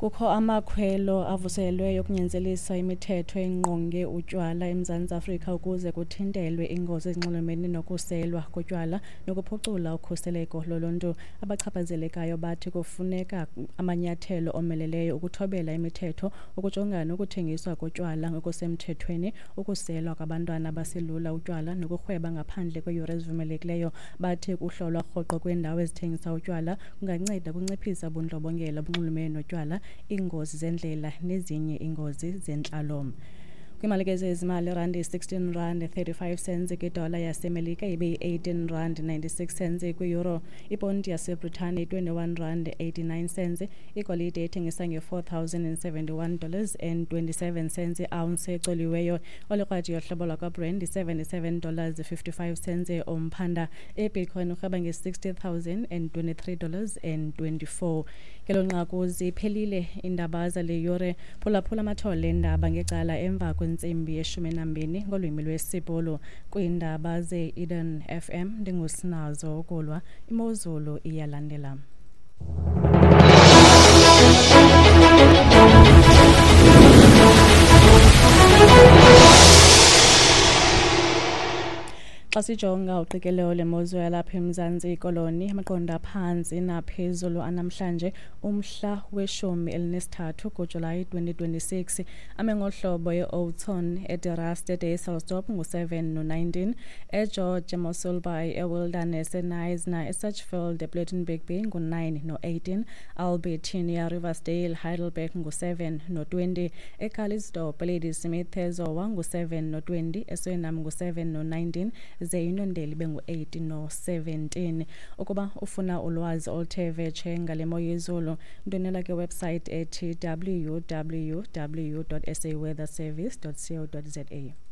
Kukho amakhwelo avuselelweyo okunyanzelisa imithetho engqonge utywala eMzantsi Afrika ukuze kuthintelwe iingozi ezinxulumene nokuselwa kotywala nokuphucula ukhuseleko loluntu. Abachaphazelekayo bathi kufuneka amanyathelo omeleleyo ukuthobela imithetho, ukujongana nokuthengiswa kotywala ngokusemthethweni, ukuselwa kwabantwana abaselula utywala nokurhweba ngaphandle kweeyure ezivumelekileyo. Bathi ukuhlolwa rhoqo kweendawo ezithengisa utywala kunganceda ukunciphisa ubundlobongela obunxulumene notywala, iingozi zendlela nezinye iingozi zentlalo. Kwiimali zezimali, irandi yi-16 rand 35 cents kwidola yaseMelika, ibe yi-18 rand 96 cents kwiyuro. Iponti yaseBritane yi-21 rand 89 cents. Igolide ithengisa nge-$4,071 dollars and 27 cents i-ounce ecoliweyo. Olikrwadi yohlobo lwakwaBrand yi-77 dollars 55 cents umphanda. IBitcoin urhweba nge-$60,023 dollars and 24. Ngelo nqaku ziphelile iindaba zale yure. Phulaphula amathole eendaba ngecala emva kwentsimbi ye-12 ngolwimi lwesiBhulu. Kwiindaba ze-Eden FM ndinguSinazo Ukulwa. Imozulu iyalandela. Xa sijonga uqikelelo lemozulu yalapha eMzantsi Koloni, amaqondo aphantsi naphezulu anamhlanje umhla we-13 kuJulayi 2026 ame ngohlobo: e-Oudtshoorn, eDe Rust, eDysselsdorp ngu-7 no-19, eGeorge, eMossel Bay, eWilderness, eKnysna, eSedgefield, ePlettenberg Bay ngu-9 no-18, Albertinia, Riversdale, Heidelberg ngu-7 no-20, eCalitzdorp, eLadysmith, eZowa ngu-7 no-20, eSuriname ngu-7 no-19, ze iNondeli ibe ngu-8 no-17. Ukuba ufuna ulwazi oluthe vetshe ngale mo yezulu, ndwendwela kwiwebsite ethi www.saweatherservice.co.za.